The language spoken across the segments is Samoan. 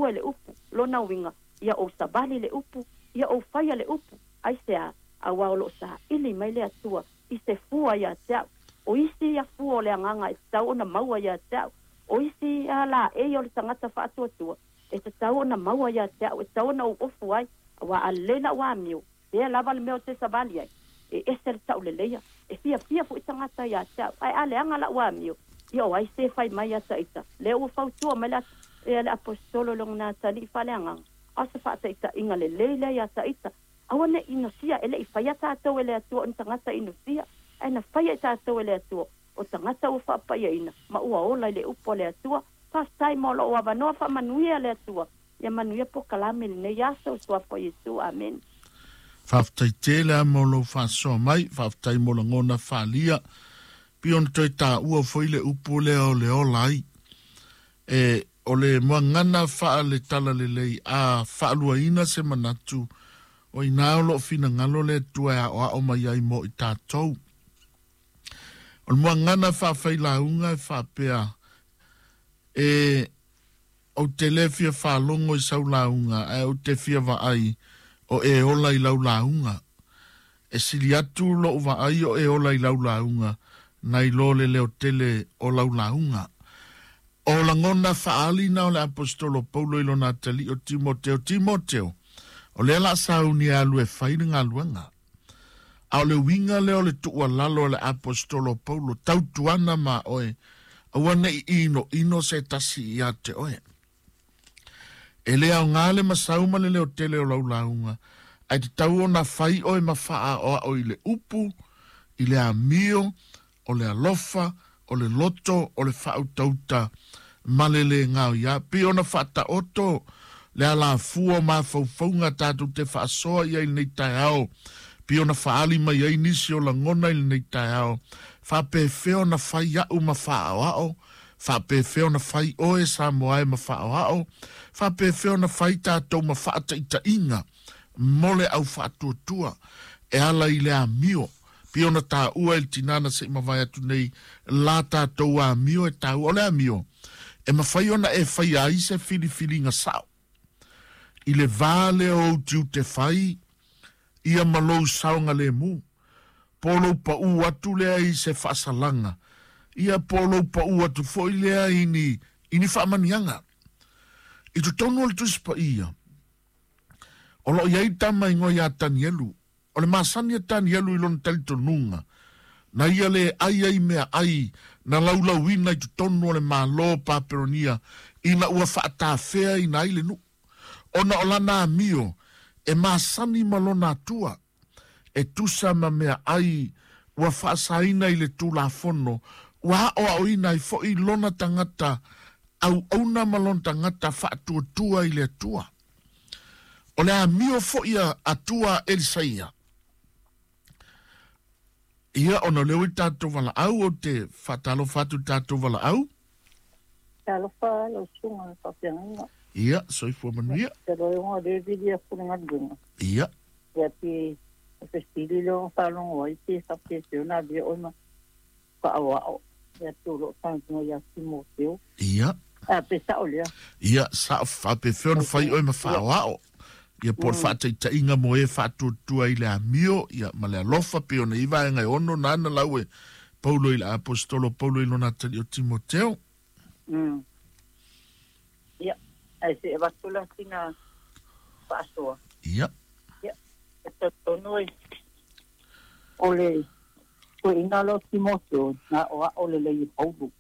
fua i le upu. Lona uiga, ia ou savali i le upu, ia ou faia le upu. Aisea? Auā o lo o saili mai le Atua i se fua ia te au. O isi ia fua o le agaga e tatau ona maua ia te au. O isi ia laei o le tagata faatuatua e tatau ona maua ia te au, e tatau ona ou ofu ai, auā a lelei lau amio, pea lava le mea ou te savali ai, e ese le tauleleia. E fiafia foi tagata ia te au. Ae a leaga lau amio, ia o ai se fai mai ia ita? Lea ua fautua mai le Aposetolo i lona atalii faaleagaga, a o se faataitaiga lelei lea ia ita. Aua ne i inosia, e le i faia tatou e le Atua o ni tagata inosia, ae na faia i tatou e le Atua o tagata ua faapaiaina ma ua ola i le upu a le Atua. Faafetai mo lou avanoa, faamanuia le Atua. Ia manuia polokalame i lenei aso, i suafa o Iesu. Amene. Faafetai tele lava mo lou faasoa mai, faafetai mo lagona faaalia. Pei ona toe taua foi le upu lea o le ola ai. E o le muagana faale-talalelei a faaluaina se manatu, o i ina o loo finagalo le Atua e aoao mai ai mo i tatou. O le muagana faafailauga e faapea, e ou te le fia faalogo i sau lauga, ae ou te fia vaai o e ola i lau lauga. E sili atu lou vaai o e ola i lau lauga, nai lo le leotele o lau lauga. O lagona faaali na o le Aposetolo Paulo i lona atalii o Timoteo. Timoteo, o lea o le a sauni e alu e fai le galuega. A o le uiga lea o le tuualalo a le Aposetolo Paulo, tautuana ma oe, aua ne i inoino se tasi ia te oe. E le aoga le masau ma le leotele o lau lauga, ae tatau ona fai oe ma faaaoao i le upu, i le amio, o le alofa, o le loto, o le faautauta ma le le gaoia. Pei ona faataoto le alafua o mafaufauga tatou te faasoa i ai i lenei taeao, pei ona faaali mai ai nisi o lagona i lenei taeao, faapefea ona fai au ma faaoao, faapefea ona fai oe Samoa e ma faaoao, faapefea ona fai tatou ma faataitaiga mo le au faatuatua e ala i le amio. Pei ona taua e le tinā na se i mavae atu nei la tatou amio e taua. O le amio, e mafai ona e faia ai se filifiliga sao i le va lea o ou tiute fai ia ma lou saogalemu, po o lou paū atu lea i se faasalaga, ia po o lou paū atu foi lea i ni, i ni faamaniaga. I totonu o le Tusi Paia, o lo o i ai tama igoa ia Tanielu. O le masani a Tanielu i lona talitonuga, na ia le ai ai meaai na laulauina i totonu o le Malo o Papelonia ina ua faatafeaina ai le nuu, ona o lana amio e masani ma lona Atua, e tusa ma meaai ua faasaina i le Tulafono, ua aoaoina ai foi lona tagata auauna ma lona tagata faatuatua i le Atua. O le amio foi a Atua Elisaia. Ia, ona o lea ua i tatou valaau, ou te faatalofa atu i le tatou valaau. Talofa lau susuga i le faafeagaiga. Ia, soifua manuia. Te loe o lea vili atu le galuega. Ia. Ia pe o fesili lea o faalogo ai pe faapefea ona avea oe ma faaoao ia te o loo talanoa ia Timoteo. Ia. A pe sao lea. Ia, sao, faapefea ona fai oe ma faaoao. Ia po o le faataitaiga mo e faatuatua i le amio, ia, ma le alofa, pei ona i ai vaega e ono nana lau e Paulo i le Aposetolo Paulo i lona atalii o Timoteo. Ia, ae se i avatu la sina faasoa. Ia. Ia, e talitonu e o le toeaina lea o Timoteo, na aoao lelei e Paulo.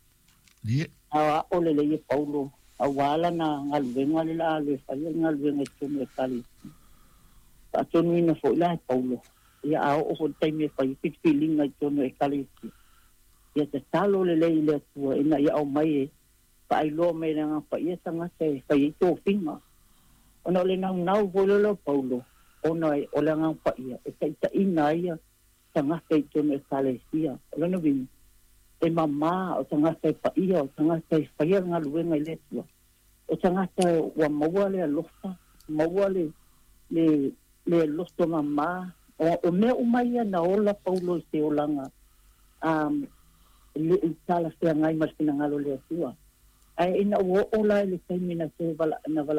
Ia. Na aoao lelei e Paulo, aua lana galuega le la alu e fai le galuega i totonu o Ekalesia. Faatonuina foi la e Paulo, ia a oo foi i le taimi e fai filifiliga i totonu o Ekalesia, ia tatalo lelei i le Atua ina ia aumai e faailoa mai e le Agaga Paia tagata e fai ai tofiga. Ona o le naunau foi lea o Paulo, ona o le Agaga Paia e taitaiina ai ia tagata i totonu o Ekalesia. O lona uiga, e mama o tagata e paia, o tagata e faia le galuega i le Atua, o tagata ua maua le alofa, maua le, le, le loto mama. O mea uma ia na ola Paulo i se olaga le i talafeagai ma le finagalo o le Atua. Ae ina ua oo la i le taimi na toe vala, na vala